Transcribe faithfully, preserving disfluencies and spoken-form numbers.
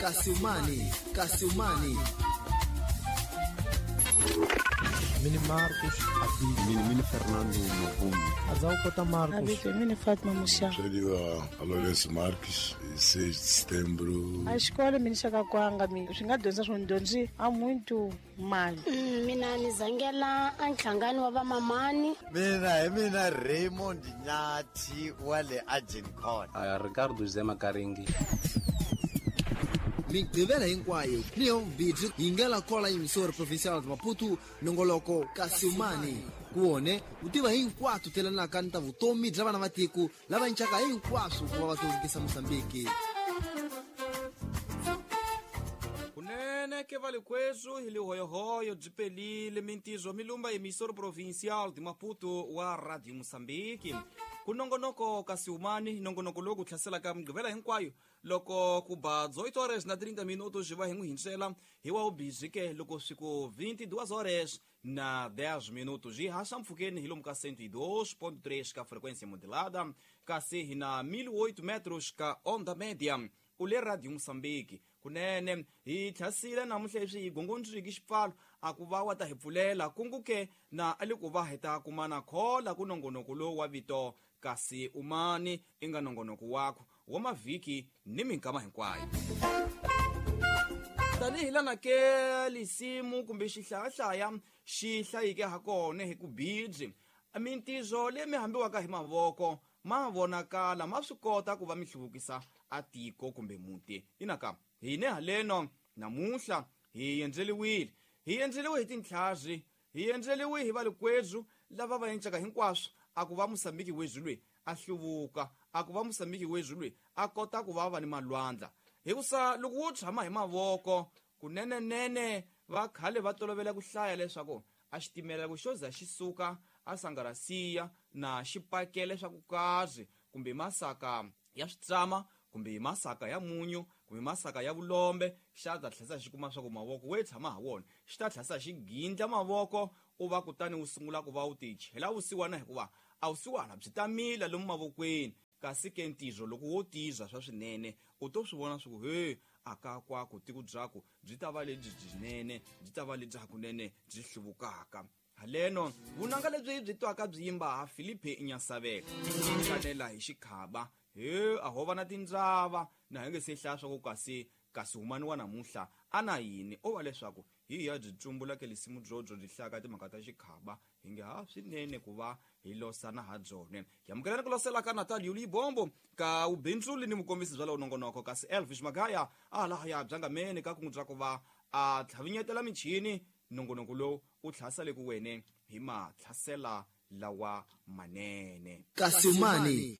Kasiumani, Kasiumani. Mini Marcos Abi. Mini Mini Fernando Mavungo. Azalcota Marcos. Abi, Mini Fátima Muxa. Chadiwa Lourenço Marques, seis de setembro. A escola me chega kwanga mi swi nga dyondza swo dyondzi a muito mali. Mina ni zangela a nhlangano wa vamamani. Mina hi mina Raymond Nyathi wa le Agincourt. Uh, Ricardo Zema Karingi. Migqivela hinkwayo ni yo bidzi yi nga kola emissora provincial de Maputo nongoloko Kasiumani kuone u tiva hinkwato telanaka ni ta vutomi bya vana va tiko lava ncaka hinkwaswo ku va va hluvukisa Mozambique. Kunene ke valikwethu hi lihoyohoyo byi pelile mintizo milumba emissora provincial de Maputo wa Radio Mozambique. Ku nongonoko Kasiumani nongonoko lowu ku hlaselaka migqivela hinkwayo loko ku ba oito horas na trinta minutos va hi n'wi hinsela hi wa ubhizi ke loko swi ku vinte e duas horas na dez minutos hi haxa mpfhukeni hi lomu ka cento e dois ponto três ka frequência modulada kasi hi na mil e oito metros ka onda média u le Radio Mozambique. Kunene hi tlhasile namuntlha leswi hi gongondziki xipfalo a ku va wa ta hi pfulela kungu ke na a le ku va hi ta kumana khola ku nongonoko lowu wa vito kasi umani i nga nongonoko wakho wa mavhiki ni minkama hinkwayo. Tanihi lana ke lisimu kumbe xihlayahlaya xi hlayike ha kona hi ku bidzi mintizo leyi mi hambiwaka hi mavoko ma vonakala ma swi kota ku va mi hluvukisa a tiko kumbe muti. Inaka hine haleno namuntlha hi endleliwile hi endleliwe hi tintlhazi hi endleliwe hi valikwethu lava va encaka hinkwaswo a ku va Mozambique wezulwe a hluvuka a ku va Mozambique wezulwe a kota ku va va ni malwandla hikusa loko wo tshama hi mavoko kunenenene va khale va tolovela ku hlaya leswaku a xitimela ku xo za xi suka a sangarasiya na xipakele swa ku kazi kumbe masaka ya switsama kumbe masaka ya munyu kumbe masaka ya vulombe xa ta tlhasa xi kuma swa ku mavoko we tshama ha wona xi ta tlhasa xi gindla mavoko u va kutani wu sungula ku va u ti chela vusiwana hikuva a vusiwana byi ta mila lomu mavokweni kasi ke ntizo loko wo tiza swa swinene u to swi vona swa ku he aka kwaku tiko byaku byi ta va lebyi byinene byi ta va lebyi hakunene byi hluvukaka. Haleno vunanga lebyi byi twaka byi yimba ha Filipe Nyasavela kanela hi xikhaba he a ho va na tindzava na hi nge se hlaya swa ku kasi kasi humani wa namuntlha a na yini o va leswaku hi ya byi tsumbula ke lisimu byobyo byi hlaya ka timhaka ta xikhaba hi nge ha swinene ku va hi losana ha byone. Hi amukelani ku losela ka Natal Yuli Bombo ka ubindzuli ni mukombisi bya lowu nongonoko kasi Elvis Magaya a lahaya byangameni ka kungu bya ku va a tlhavinyetela michini nongonoko lowu u tlhasele ku wene hi matlhasela lawa manene. Kasiumani.